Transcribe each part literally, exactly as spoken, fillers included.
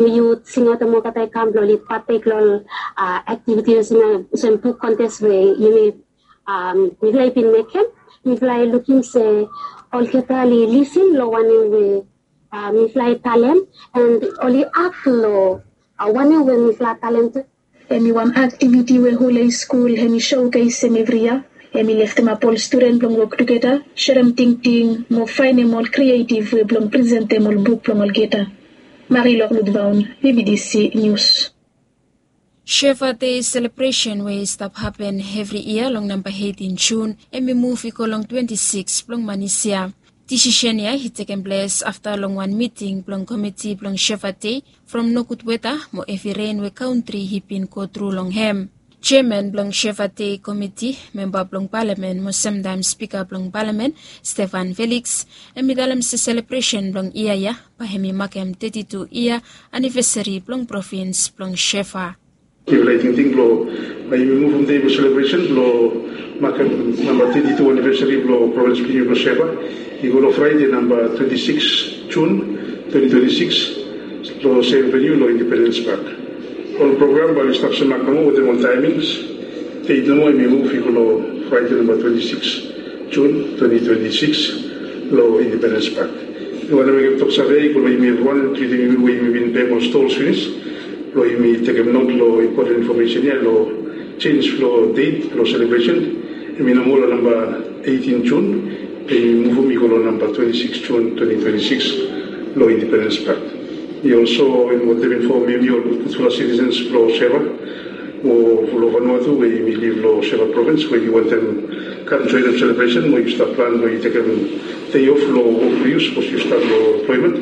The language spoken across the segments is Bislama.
Yut singaot em olgeta i kam blong oli patek long ol aktiviti olsem buk kontes we yumi mifala i bin mekem. Mifala i lukim se olgeta oli lisin long wanem we mifala i talem, and oli ak long wanem we mifala talem tu. Em i wan aktiviti we hol haiskul em i sokeisem evri yia. Em i leftemap ol studen blong wok tugeta, serem tingting mo faenem ol krietiv we blong presentem ol buk blong olgeta. Mari Loklut Vaun, B B C News. Sheva Dei selebresen we i stap hapen evri yia long namba eitin Jun, em i muv i go long twenti sikis blong manis ya. Disisen ya i tekem ples afta long wan miting blong komiti blong Sheva Dei from nogud weta mo evi ren we kantri i bin go tru long hem. Jeaman blong Sheva Dei komiti, memba blong palamen mo semtaem spika blong palamen, Stefan Feliks, em i talem se selebresen blong yia ya bae hem i makem teti tu yia anivesari blong provins blong Sheva. Mifala i tingting blong bae yumi muvum dei blong selebresen blong makem namba teti tu anivesari blong provins blong yumi blong Sheva i go long Fraede namba twenti sikis Jun twenti twenti sikis long sem veniu long Independens Pak. Ol program bae oli stap semak nomo wetem ol taemings. Deit nomo hem i muv i go long Fraede namba twenti sikis Jun twenti twenti sikis long Independens Pak. Mi wantem mekem toksave i go long yumi evriwan, inkludim yumi we yumi bin pem ol stols finis, blong yumi tekem not long impoten infomesen ya long jenis blong deit blong selebresen. Hem i no moa long namba eitin Jun, be yumi muvum i go long namba twenti sikis Jun twenti twenti sikis long Independens Pak. Mi olso wantem infom yumi ol gudfala sitisens blong Sheva mo long Vanuatu we yumi liv long Sheva provins we yu wantem kam joenem selebresen mo yu stap plan blong yu tekem dei of long wok blong yu sapos yu stap long emploemen.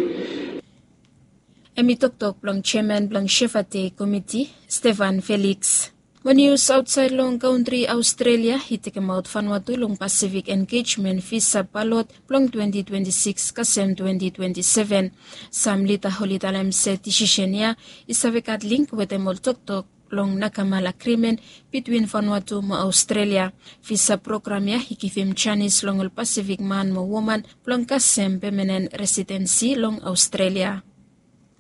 Hem i toktok blong jeaman blong Sheva Dei komiti, Stefan Feliks. Mo nius aotsaed long kantri Aostrelia i tekemaot Vanuatu long Pasifik Engejmen visa balot blong twenti twenti sikis kasem twenti twenti seven. Sam lida oli talem se disisen ya i save gat link wetem ol toktok long Nakamal Agrimen bitwin Vanuatu mo Aostrelia. Visa program ya i givim janis long ol Pasifik man mo woman blong kasem pemenen residensi long Aostrelia.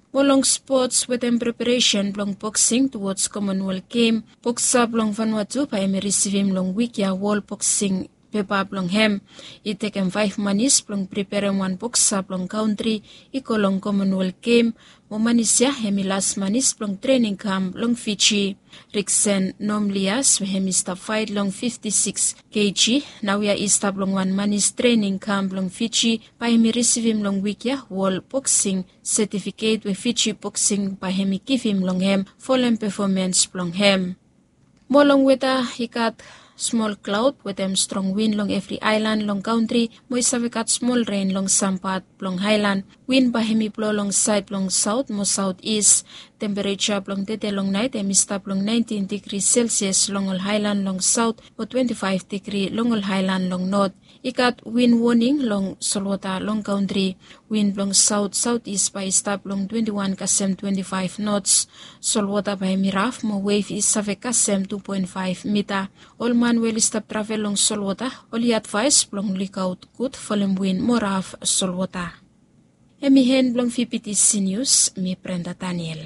Mo long spots wetem preparesen blong boksing tuwods Komonwel Gem, boksa blong Vanuatu bae hem i risivim long wik ya wol boksing pepa blong hem. I tekem faef manis blong preperem wan boksa blong kantri i go long Komonwel Gem, mo manis ya hem i las manis blong trening kam long Fiji. Riksen Nomlias we hem i stap faet long fifti sikis keji naoia i stap long wan manis trening kam blong Fiji, bae hem i risivim long wik ya wol boksing setifiket we Fiji Boksing bae hem i givim long hem folem pefomens blong hem. Mo long weta, i gat smol klaod wetem strong win long evri aelan long kantri, mo i save gat smol ren long sam pat blong aelan. Win bae hem i blo long saed blong saot mo saotis. Tempereja blong tede long naet hem i stap long naentin digri selsias long ol aelan long saot mo twenti faef digri long ol aelan long not. I gat win woning long solwota long kantri. Win blong saot saotis bae i stap long twenti wan kasem twenti faef nots. Solwota bae hem i raf mo wef i save kasem tu poen faef mita. Ol man we oli stap travel long solwota oli advaes blong lukaot gud folem win mo raf solwota. Hem i en blong VBTC Nius, mi Brenda Daniel.